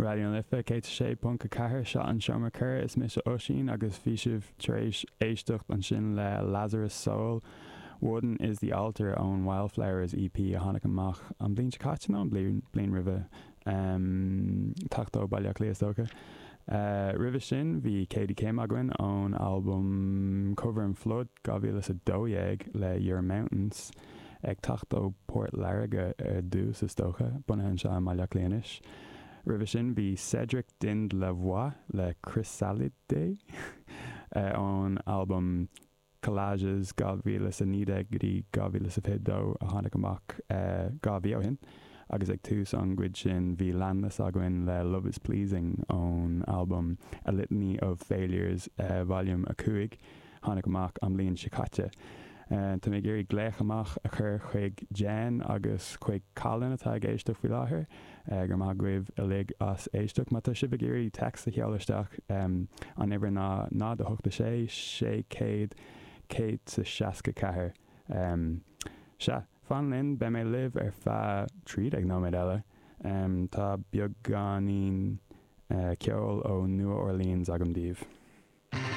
Raidió na Life 106.4, seo an Seomra Corr, is mise Oisín agus bhí sibh tar éis éisteacht ansin le Lazarus Soul, Wooden is the Altar ón Wildflowers EP a tháinig amach an bhliain seo caite nó an bhliain roimhe, teacht ó Baile Átha Cliath is dócha. Roimhe sin bhí Katie Kim againn ón albam Cover and Flood 2012 le Your Mountains. Ag teacht ó Port Láirge ar dtús is dócha, bunaithe anseo i mBaile Átha Cliath anois. Roimhe sin bhí Cédric Dind-Lavoie le Chrysalide ón albam Collages 2019 go dtí 2022 a tháinig amach 2 mhí ó shin. Agus ag tús an gcuid sin bhí Landless againn le Love is Pleasing ón albam A Litany of Failures Volume 5. tháinig amach an bhliain seo caite. Tá mé ag iarraidh glaoch amach a chur chuig Jen agus chuig Colin atá ag éisteacht faoi láthair. Go raibh maith agaibh uilig as éisteacht. Má tá sibh ag iarraidh text a sheoladh isteach, an uimhir ná 0 8 6 600 164. Sea, fan linn, beidh mé libh ar feadh 13 nóiméad eile. Tá beagáinín ceoil ó Nua Orleans agam daoibh.